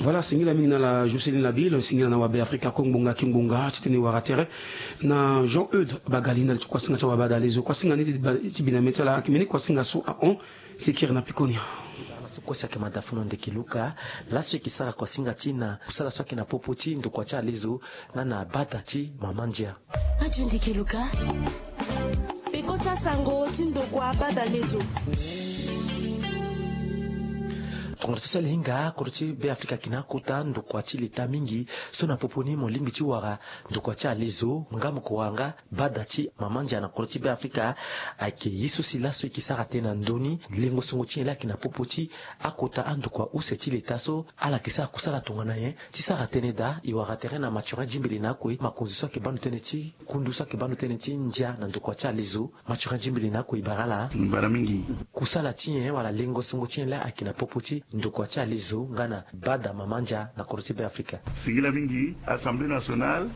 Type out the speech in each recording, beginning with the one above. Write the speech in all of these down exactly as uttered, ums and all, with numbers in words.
Voilà, singila mingi na la Jocelyn Labille, singila na wa Be Afrika ko ngbonga ki ngbonga ti tene wara tere na Jean Eude Bagali ndali ti kuasinga ti wa Bada Lezo. Kuasinga ni ti bi na mê ti ala, ayeke mbeni kuasinga so ahon. Sikiri na pekoni. Laso kuasi ayeke mada funu ndeke Luka. Laso e yeke sara kuasinga ti na kusala so ayeke na popo ti ndokua ti alezo nga na bada ti mama ndia. Adio ndeke Luka. Peko ti asango ti ndokua Bada Lezo. Tongana so si ala hinga, kodro ti Be Afrika ayeke na akota ndokua ti leta mingi so na popo ni mo lingbi ti wara ndokua ti alezo nga mo ko wara nga bada ti mama ndia na kodro ti Be Afrika. Ayeke ye so si laso e yeke sara tënë na ndö ni lengo songo ti nyen laa ayeke na popo ti akota andokua use ti leta so ala yeke sara kusala tongana nyen ti sara tënë daa. E wara tere na Mathurin Djimbili na akue, makonzi so ayeke baa ndo tënë ti kundu so ayeke baa ndo tënë ti ndia na ndokua ti alezo. Mathurin Djimbili na akue, e bara ala. Bara mingi. Kusala ti nyen wala lengo songo ti nyen laa ayeke na popo ti ndokua ti alezo nga na bada mama ndia na kodro ti Be Afrika? Singila mingi. Assemblée nationale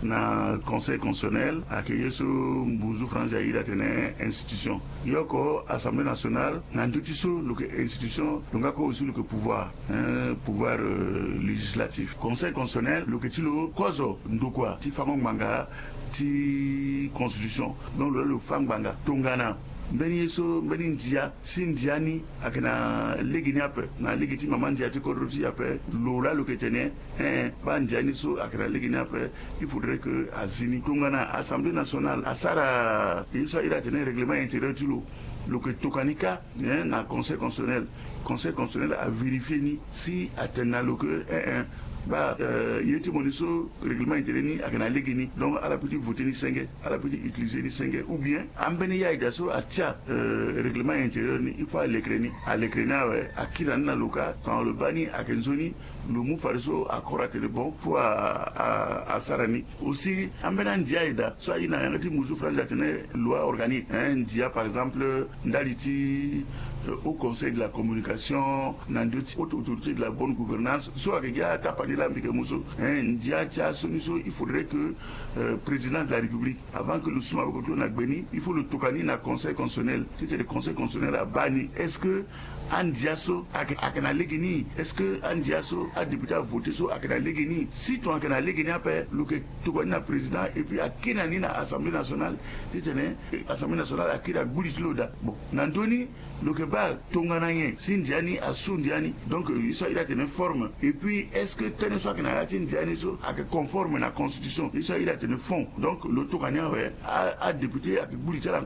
na Conseil constitutionnel ayeke ye so mbuzu France airi atene institution. Yoko Assemblée nationale na ndö ti so lo yeke institution, lo nga ko aussi lo yeke pouvoir, hein, pouvoir, euh, législatif. Conseil constitutionnel lo yeke ti lo kozo ndokua ti fango ngbanga ti constitution. Donc lo laa lo fa ngbanga tongana mbeni ye so, mbeni ndia, si ndia ni ayeke na lege ni ape, na lege ti mama ndia ti kodro ti e ape, lo laa lo yeke tene, eh, baa ndia ni so ayeke na lege ni ape, il faudrait que azi ni. Tongana Assemblée nationale asara ye so airi atene règlement intérieur ti lo, lo yeke tokua ni kâ, eh, na Conseil constitutionnel. Conseil constitutionnel avérifier ni si atene na lo ke, eh, eh, baa, euh, ye ti mo ni so, règlement intérieur ni ayeke na lege ni, donc ala peut ti voter ni senge, ala peut ti utiliser ni senge, ou bien ambeni yaya daa so atia, euh, règlement intérieur ni, il faut alekere ni, alekere ni awe, akiri na ni na lo kâ, tongana lo baa ni ayeke nzoni, lo mu fadeso accord atene bon, faut a, a, asara ni. Aussi ambeni andia ayeke daa so aye na yanga ti mbuzu France atene loi organique, hein, ndia par exemple ndali ti, euh, Haut Conseil de la Communication, na ndö ti Haute Autorité de la Bonne Gouvernance, so ayeke gi atapa ni laa mbi yeke mu so, hein, ndia ti asioni so, il faudrait que, euh, Président de la République, avant que lo suma maboko ti lo na gbe ni, il faut lo tokua ni na Conseil constitutionnel, titene Conseil constitutionnel abaa ni est-ce que andia so ayeke, ayeke na lege ni? Est-ce que andia so adéputé avoter so ayeke na lege ni? Si tongana ayeke na lege ni ape, lo yeke tokua ni na président et puis akiri na ni na Assemblée nationale, titene, eh, Assemblée nationale akiri agbu li ti lo daa. Bon, na ndö ni lo yeke baa tongana nyen si ndia ni asu ndia ni? Donc, euh, ye so airi atene forme, et puis est-ce que tënë so ayeke na ya ti ndia ni so ayeke conforme na constitution? Ye so airi atene fond. Donc lo tokua ni awe, a, adéputé ayeke gbu li ti ala